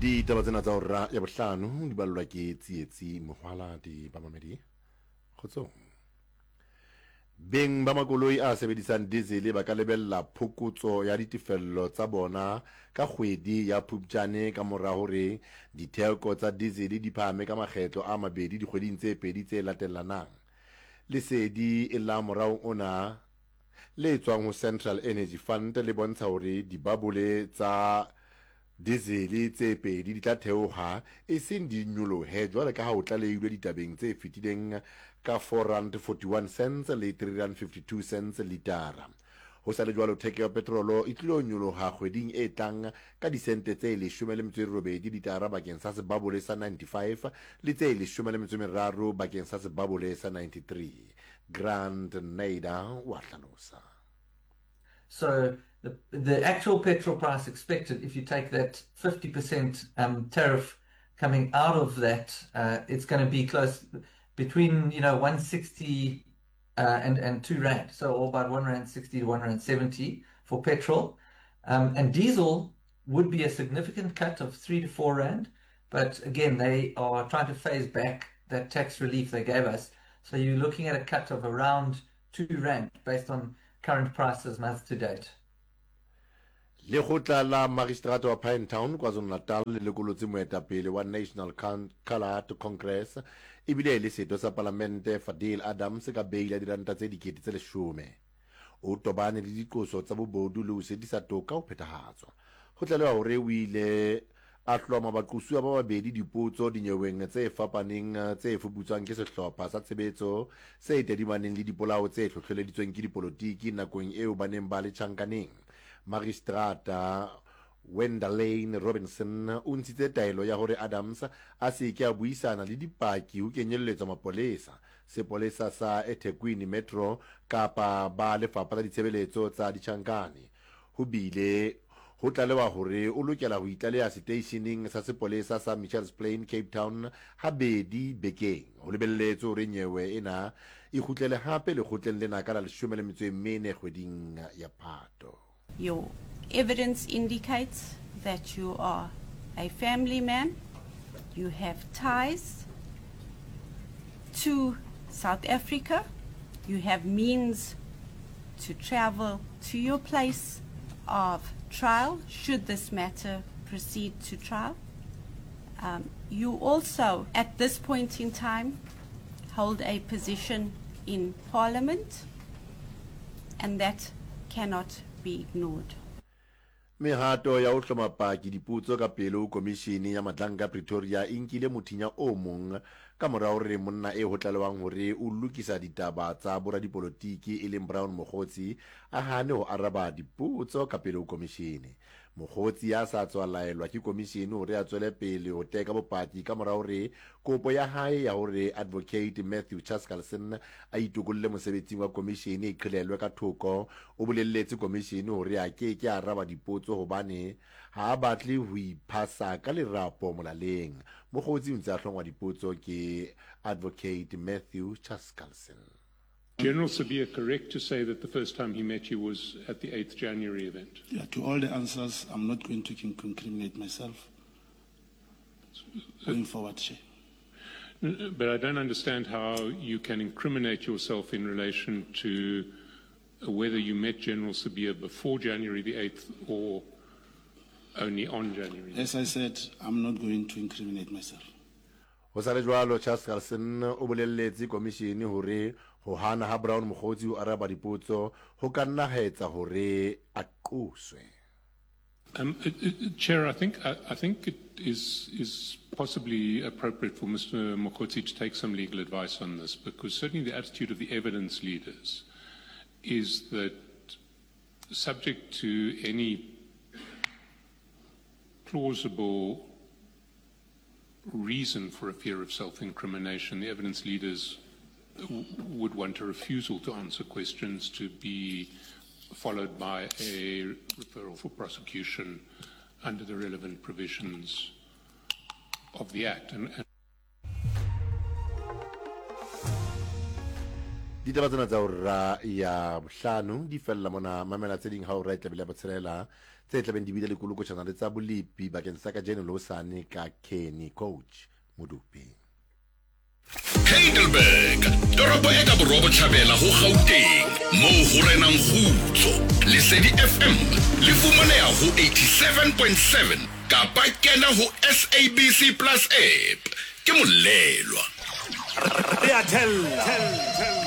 Ditaba tsena tsa hora ya bohlano di ballwa ke Tsietsi Mohwaladi. Bamamedi, kgotsong. Beng ba makoloi a sebedisang dizele ba ka lebella phokotso ya ditefello tsa bona ka kgwedi ya Phupjane ka mora hore ditheko tsa dizele di phahame ka makgetlo a mabedi dikgweding tse pedi tse latellanang. Lesedi la moraong ona le tswang ho Central Energy Fund le bontsha hore dibabole tsa Dizele tse pedi di tla theoha, eseng di nyolohe jwalo ka ha ho tlalehilwe ditabeng tse fetileng ka R4.41 le R3.52 litara. Ho sa le jwalo, theko ya petrolo e tlilo nyoloha kgweding e tlang ka disente tse 18 litara bakeng sa sebabole sa 95 le tse 13 bakeng sa sebabole sa 93. Grant Nader o a hlalosa. So the, the actual petrol price expected, if you take that 50% um, tariff coming out of that, uh, it's going to be close between, you know, 160 uh, and, and 2 Rand. So about 1 Rand 60 to 1 Rand 70 for petrol. Um, and diesel would be a significant cut of 3 to 4 Rand. But again, they are trying to phase back that tax relief they gave us. So you're looking at a cut of around 2 Rand based on current prices month to date. Lekgotla la Magistrata wa Pinetown, KwaZulu-Natal le lekolotse moetapele wa National Coloured Congress ebile e le setho sa palamente Fadil Adams ka beile ya diranta tse 10,000. O tobane le diqoso tsa bobodu le ho sitisa toka ho phethahatswa. Ho tlalewa hore o ile a hloma baqosuwa ba babedi dipotso dinyeweng tse fapaneng tse fuputswang ke sehlopha sa tshebetso se tadimaneng le dipolao tse hlohleleditsweng ke dipolotiki nakong eo ba neng ba le tjhankaneng. Magistrata Wendalane Robinson o ntshitse taelo ya hore Adams a se ke a buisana le dipaki ho kenyelletswa mapolesa, sepolesa sa eThekwini Metro kapa ba Lefapha la Ditshebeletso tsa Ditjhankane. Ho bile ho tlalewa hore o lokela ho itlaleha seteisheneng sa sepolesa sa Mitchells Plain, Cape Town habedi bekeng. Ho lebelletswe hore nyewe ena e kgutlele hape lekgotleng lena ka la 14 kgweding ya Phato. Your evidence indicates that you are a family man, you have ties to South Africa, you have means to travel to your place of trial should this matter proceed to trial. Um, you also, at this point in time, hold a position in Parliament, and that cannot be ignored. Mehato ya ho hloma paki dipotso ka pele ho Komishene ya Matlanka Pretoria e nkile mothinya o mong ka mora hore monna eo ho tlalewang hore o lokisa ditaba tsa boradipolotiki e leng Brown Mogotsi a hane ho araba dipotso ka pele ho komishene. Mogotsi ya sa tswa laelwa ke komishene hore a tswele pele ho teka bopaki ka mora hore kopo ya hae ya hore Advocate Matthew Chaskalson a itokolle mosebetsing wa komishene e qhelelwe ka thoko O bolelletse komishene hore a ke ke a araba dipotso hobane ha a batle ho iphasa ka lerapo molaleng. Mokgotsi o ntse a hlongwa dipotso ke Advocate Matthew Chaskalson. General Sibiya correct to say that the first time he met you was at the 8th January event? Yeah, to all the answers, I'm not going to incriminate myself going forward, Chair. But I don't understand how you can incriminate yourself in relation to whether you met General Sibiya before January the 8th or only on January the 8th. As I said, I'm not going to incriminate myself. Ho sa le jwalo, Chaskalson o bolelletse komishene hore ho hana ha Brown Mogotsi ho araba dipotso ho ka nna ha etsa hore a qoswe. Um, uh, uh, Chair, I think, I, I think it is, is possibly appropriate for Mr. Mogotsi to take some legal advice on this, because certainly the attitude of the evidence leaders is that subject to any plausible reason for a fear of self-incrimination, the evidence leaders would want a refusal to answer questions to be followed by a referral for prosecution under the relevant provisions of the Act. And, and Ditaba tsena tsa hora ya bohlano di fella mona. Mamela tse ding ha hora e tlabile ya botshelela. tse tlabeng di bile le kolokotšhana le tsa bolepi bakeng sa kajeno le hosane ka Kenny Coach Modupi. Heidelberg, toropo e ka borwa-botjhabela ho Gauteng, moo ho renang kgutso. Lesedi FM le fumaneha ho 87.7 kapa kena ho SABC Plus app. Ke Molelwa. Re a thella.